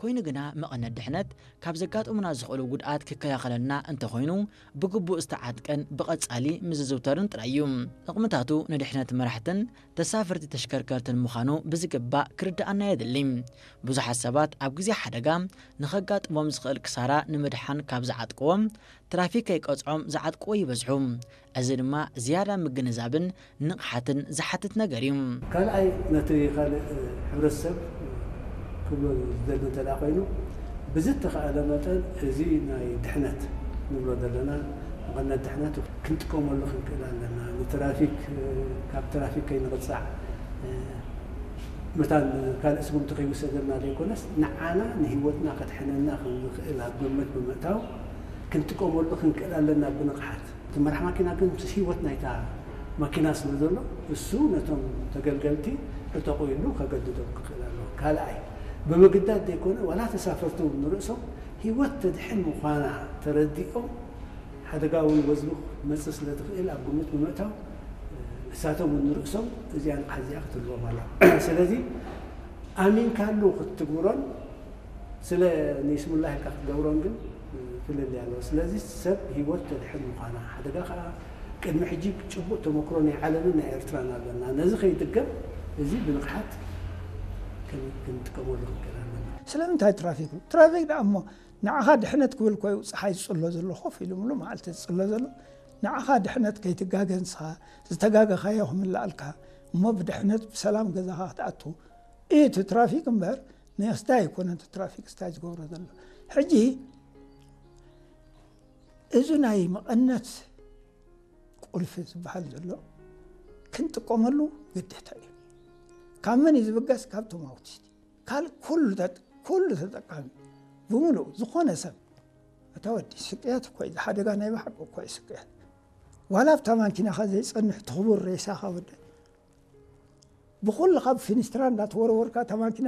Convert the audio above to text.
ኮይኑ ግና መቐነት ድሕነት ካብ ዘጋጥሙና ዝኽእሉ ጉድኣት ክከላኸለልና እንተኾይኑ ብግቡእ ዝተዓጥቀን ብቐጻሊ ምስ ዝዝውተርን ጥራይ እዩ። ጥቕምታቱ ንድሕነት መራሕትን ተሳፈርቲ ተሽከርከርትን ምዃኑ ብዝግባእ ክርድኣና የድሊ። ብዙሓት ሰባት ኣብ ግዜ ሓደጋ ንኸጋጥሞም ዝኽእል ክሳራ ንምድሓን ካብ ዝዓጥቅዎም ትራፊክ ከይቀጽዖም ዝዓጥቅዎ ይበዝሑ። እዚ ድማ ዝያዳ ምግንዛብን ንቕሓትን ዝሓትት ነገር እዩ። ካልኣይ ነቲ ካልእ ሕብረተሰብ ክብሎ ዝደሊ እንተ ኮይኑ ብዝተኻእለ መጠን እዚ ናይ ድሕነት ንብሎ ዘለና መቐነት ድሕነት ክንጥቀመሉ ክንክእል ኣለና። ንትራፊክ ካብ ትራፊክ ከይንቕፃዕ መታን ካልእ ስጉምቲ ከይውሰደልና ዘይኮነስ ንዓና ንህይወትና ከድሕነና ከም ዝኽእል ኣብ ግምት ብምእታው ክንጥቀመሉ ክንክእል ኣለና ብንቕሓት። እቲ መራሕ ማኪና ግን ምስ ህይወት ናይታ ማኪና ስለ ዘሎ እሱ ነቶም ተገልገልቲ ዕጠቑ ኢሉ ከገድዶም ክኽእል ኣለዎ። ካልኣይ ብምግዳድ ዘይኮነ ዋላ ተሳፈርቲ እውን ንርእሶም ህይወት ተድሕን ምዃና ተረዲኦም ሓደጋ እውን ወዝቢ መጽእ ስለ ትኽእል ኣብ ግምት ብምእታው እሳቶም እውን ንርእሶም እዚኣ ንቕሓት እዚኣ ክትህልዎም ኣላ። ስለዚ ኣሚንካሉ ክትትግብሮን ስለ ንይስሙላ ኢልካ ክትገብሮን ግን ፍልልይ ኣለዎ። ስለዚ ሰብ ህይወት ተድሕን ምዃና ሓደጋ ከዓ ቅድሚ ሕጂ ጭቡጥ ተመክሮ ናይ ዓለምን ናይ ኤርትራን ኣለና። ነዚ ከይድገም እዚ ብንቕሓት ክን- ክንጥቀመሉ ክንክእል ኣለና። ስለምንታይ ትራፊክ? ትራፊክ ደኣ እሞ ንዓኻ ድሕነት ክብል ኮዩ ፀሓይ ዝፅሎ ዘሎ ኮፍ ኢሉ ምሉ መዓልቲ ዝፅሎ ዘሎ ንዓኻ ድሕነት ከይትጋገ ንስኻ ዝተጋገኻዮ ክምልኣልካ እሞ ብድሕነት ብሰላም ገዛኻ ክትኣቱ እዩ እቲ ትራፊክ እምበር ንስታይ ኣይኮነን እቲ ትራፊክ ስታይ ዝገብሮ ዘሎ። ሕጂ እዚ ናይ መቐነት ቁልፊ ዝበሃል ዘሎ ክንጥቀመሉ ግዴታ እዩ። ካብ መን እዩ ዝብገስ? ካብቶም ኣውቲስት ካልእ ኩሉ ተጥ- ኩሉ ተጠቃሚ ብምሉእ ዝኾነ ሰብ እታ ወዲ ስቅያት እኮ እዩ ሓደጋ ናይ ብሓቂ እኮ እዩ ስቅያት ዋላ ኣብታ ማኪናኻ ዘይጸንሕ ትኽቡር ሬሳኻ ወደ ብኹሉ ካብ ፊኒስትራ እንዳተወረወርካ እታ ማኪና